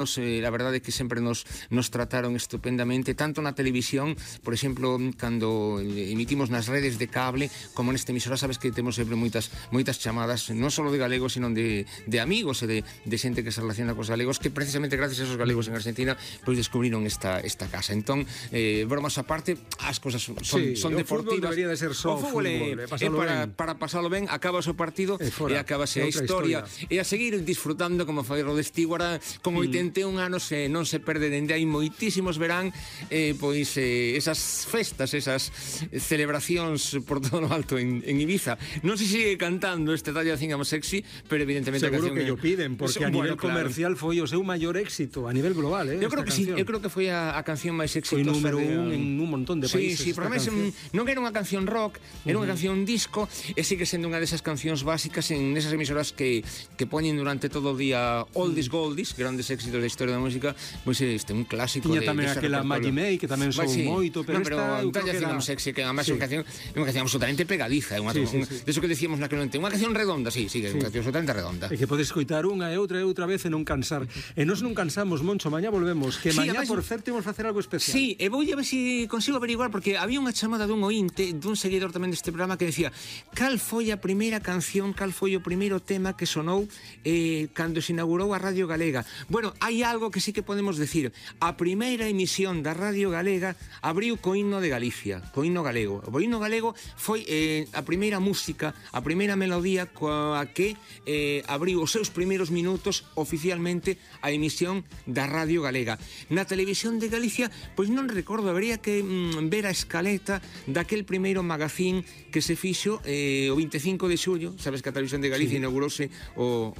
La verdade é que sempre nos trataron estupendamente, tanto na televisión, por exemplo, cando emitimos nas redes de cable, como neste emisora, sabes que temos sempre moitas chamadas, non só de galegos, sino de amigos e de xente que se relaciona cos galegos, que precisamente gracias a esos galegos en Argentina, pois descubriron esta casa. Entón, bromas aparte, as cosas son deportivas. O fútbol debería de ser só fútbol, para pasalo ben, acabas o partido e acabase a historia. E a seguir disfrutando como foi Rod Stewart con 81 anos, non se perde dende hai moitísimos verán pois esas festas, esas celebracións por todo o alto en Ibiza. Non se sigue cantando este Talla Think I'm Sexy, pero evidentemente seguro que yo piden, porque a nivel comercial foi o seu maior éxito a nivel global, eu creo que sí, eu creo que foi a canción máis exitosa. Foi número 1 en un montón de países. Sí, pero non era unha canción rock, era unha canción disco, e sigue sendo unha desas cancións básicas en esas emisoras que poñen durante todo o día oldies goldies, grandes éxitos da historia da música, pois este un clásico. Tiña tamén aquela Maggie May, que tamén son moito, pero esta eu creo que era sexy, que además é unha canción absolutamente pegadiza, de eso que decíamos naquele momento, unha canción redonda, é unha canción absolutamente redonda. E que podes escoitar unha e outra vez e non cansar. E nós non cansamos, Moncho, mañá volvemos, que mañá, por certo, imos facer algo especial. Sí, e vou a ver se consigo averiguar, porque había unha chamada dun ointe, dun seguidor tamén deste programa, que decía: cal foi a primeira canción, cal foi o primeiro tema que sonou cando se inaugurou a Radio Galega? Bueno, hai algo que sí que podemos decir. A primeira emisión da Radio Galega abriu co himno de Galicia, co himno galego. O himno galego foi a primeira música, a primeira melodía coa que abriu os seus primeiros minutos oficialmente a emisión da Radio Galega. Na televisión de Galicia, pois non recordo, habería que ver a escaleta daquel primeiro magazín que se fixo o 25 de xullo. Sabes que a televisión de Galicia inaugurouse o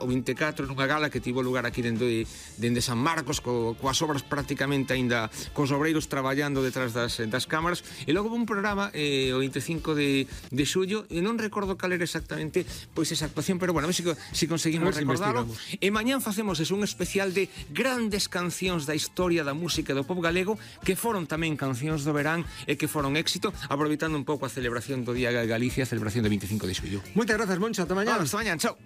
24 nunha gala que tivo lugar aquí dende San Marcos, coas obras prácticamente aínda cos obreiros traballando detrás das cámaras, e logo un programa o 25 de xullo, e non recordo cal era exactamente pois esa actuación, pero bueno, a ver se conseguimos recordarlo. E mañán facemos un especial de grandes cancións da historia da música do pop galego, que foron tamén cancións do verán e que foron éxito, aproveitando un pouco a celebración do Día de Galicia, a celebración do 25 de xullo. Moitas grazas, Moncho, ata mañá. Hasta mañán, chao.